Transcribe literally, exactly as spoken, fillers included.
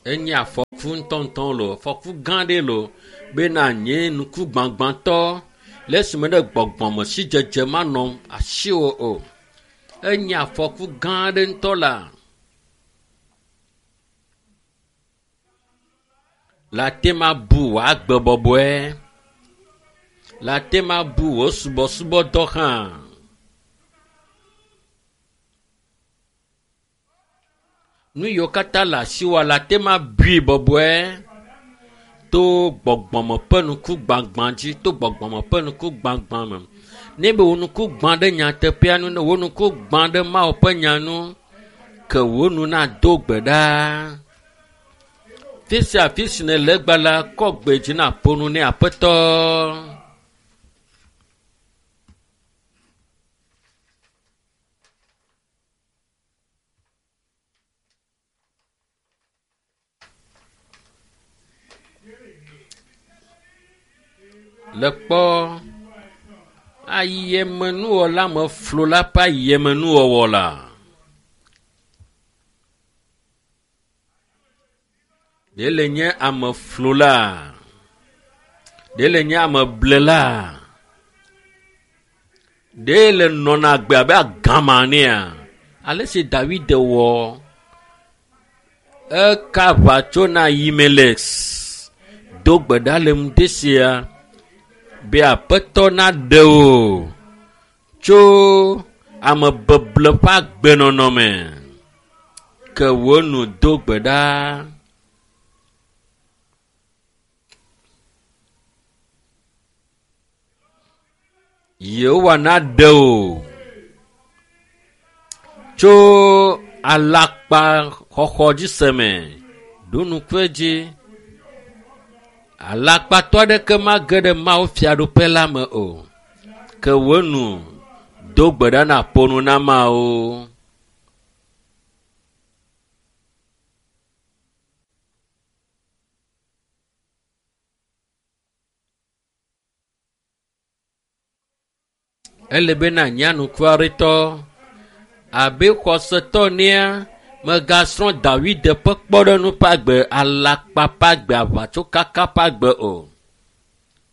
Enye afɔku ŋutɔŋutɔ lo, afɔku gã aɖe lo bena nye nuku gbagbãtɔ le esime ɖe gbɔgbɔme sidzedze manɔ asiwò o. Enye afɔku gã aɖe ŋutɔ la. Le ate ma bu wò agbe bɔbɔe. Le ate ma bu wò subɔsubɔdɔ hã. Nu yiwo katã le asiwòa le ate ma bui bɔbɔe to gbɔgbɔme ƒe nuku gbagbã dzi, to gbɔgbɔme ƒe nuku gbagbã me. Ne be wò nuku gbã ɖe nyateƒea nu, ne wò nuku gbã ɖe Mawu ƒe nya nu, ke wò nu nado gbe ɖa. Fi sia fi si nèle egbe la, kɔ gbe dzi na ƒo nu ne Aƒetɔ. Le kpɔ ayemenuwɔla me flo la ƒe ayemenuwɔwɔ la. Ɖe le nye ame flo la? Ɖe le nye ame ble la? Ɖe le nɔna agbe abe agama nea? Ale si Dawid wɔ eka aʋa tso na Ahimelek do gbe ɖa le ŋdi sia be Aƒetɔ naɖe wò tso amebeble ƒe agbenɔnɔ me. Ke wò nu do gbe ɖa. Yehowa naɖe wò tso alakpa xɔxɔ dzi se me. Ɖo ŋku edzi. Alakpatɔ aɖeke mage ɖe Mawu fiaɖuƒe la me o. Ke wò nu do gbe ɖa na ƒo nu na Mawu. Ele be na nye anukuaretɔ abe xɔsetɔ nea megasrɔ̃ Dawid ƒe kpɔɖeŋu ƒe agbe, alakpa ƒe agbe, aʋatsokaka ƒe agbe o.